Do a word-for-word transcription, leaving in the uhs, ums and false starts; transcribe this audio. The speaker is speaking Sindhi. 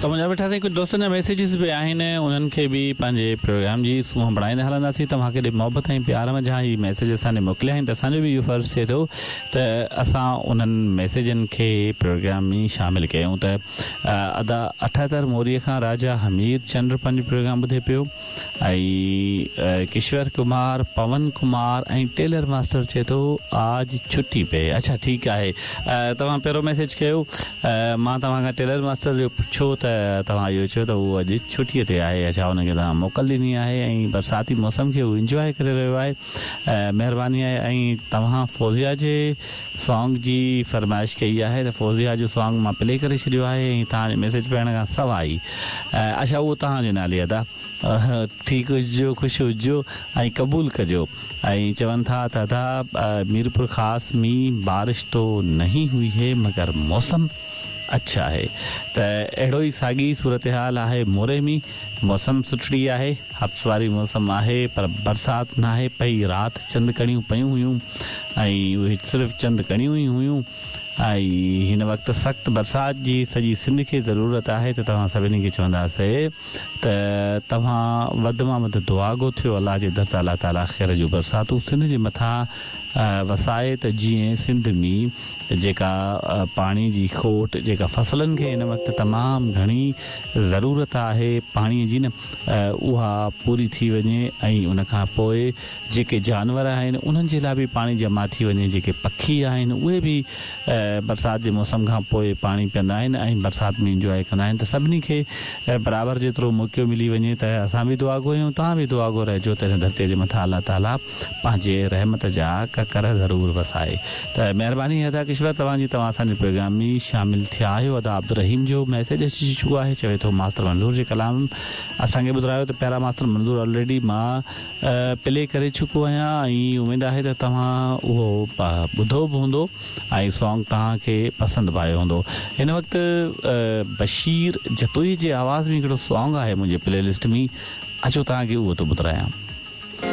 ته منهنجا مٺا سائين ڪجهه دوستن جا ميسيجز به آهن، انهن کي به پنهنجي پروگرام جي سونهن بڻائيندا هلنداسين. توهان ڪيڏي محبت ۽ پيار منجهان هي ميسيج اسان ڏي موڪليا آهن ته اسان جو به اهو فرض ٿئي ٿو ته اسان انهن ميسيجن کي پروگرام ۾ شامل ڪيون. ته ادا اٺهتر موريء کان راجا همير چنڊ پنهنجو پروگرام ٻڌي پيو ۽ ڪشور ڪمار، پون ڪمار ۽ ٽيلر ماسٽر چئي ٿو آج ڇٽي پي. اڇا ٺيڪ آهي، توهان پهريون ميسيج ڪيو، مان توهان کان ٽيلر ماسٽر جو پڇيو ته توهان اهو چيو ته اهو اڄ ڇٽيء تي آهي. اڇا ان کي توهان موڪل ڏني آهي ۽ برساتي موسم کي هو انجواء ڪري رهيو آهي، مهرباني آهي. ۽ توهان فوزيا جي سانگ جي فرمائش ڪئي آهي ته فوزيا جو سانگ مان پلي ڪري ڇڏيو آهي ۽ توهان جو ميسيج پڙهڻ کان سواء ئي. اڇا اهو توهان جي نالي ادا، ٺيڪ هجو، خوش هجو ۽ قبول ڪجو. ۽ چون ٿا ته ادا ميرپور خاص ۾ بارش تو نهين هئي هي مگر موسم اڇا آهي. ته اهڙو ئي ساڳي صورتحال آهي موري ۾، موسم سٺڙي آهي، حبس واري موسم آهي پر برسات ناهي پئي. رات چند ڪڻيون پيون هيون ۽ اهي صرف چند ڪڻيون ئي هيون ۽ هن وقت سخت برسات جي سڄي سنڌ کي ضرورت آهي. ته توهان سڀني کي چونداسين ته توهان وڌ مان وڌ دعاگو ٿيو الله جي در ته الله تعاليٰ خير جون برساتون سنڌ جي مٿان وسائي ته جيئن سنڌ ۾ جيڪا پاڻي جي کوٽ، جيڪا فصلن کي هن وقت تمام گهڻي ضرورت آهي پاڻي جي نه، اها پوري ٿي وڃي ۽ ان کان پوء جيڪي جانور آهن انهن جي لاء به پاڻي جمع ٿي وڃي، جيڪي پکي آهن اهي به برسات جي موسم کان پوء پاڻي پيئندا آهن ۽ برسات ۾ انجواء ڪندا آهن. ته سڀني کي برابر جيترو موقعو ملي وڃي ته اسان به دعاگو آهيون، توهان به دعاگو رهجو ته هن ڌرتيء جي مٿان الله تعاليٰ پنهنجي رحمت جا ڪڪر ضرور وسائي. ته مهرباني ادا ڪشور توهان جي، توهان اسان جي پروگرام ۾ شامل ٿيا آهيو. ادا عبدالرحيم جو ميسيج اچي چڪو آهي، چوي ٿو ماستر منظور جي ڪلام اسان کي ٻڌايو ته پيارا ماستر منظور آلريڊي مان پلي ڪري چڪو آهيان ۽ اميد آهي ته توهان اهو ٻڌو به هوندو ۽ سانگ توهان کي پسند به آيو هوندو. هن وقت بشير جتوئي جي آواز ۾ هڪڙو سانگ آهي منهنجي پلي لسٽ ۾، اچو توهان کي اهو ٿو ٻڌايان.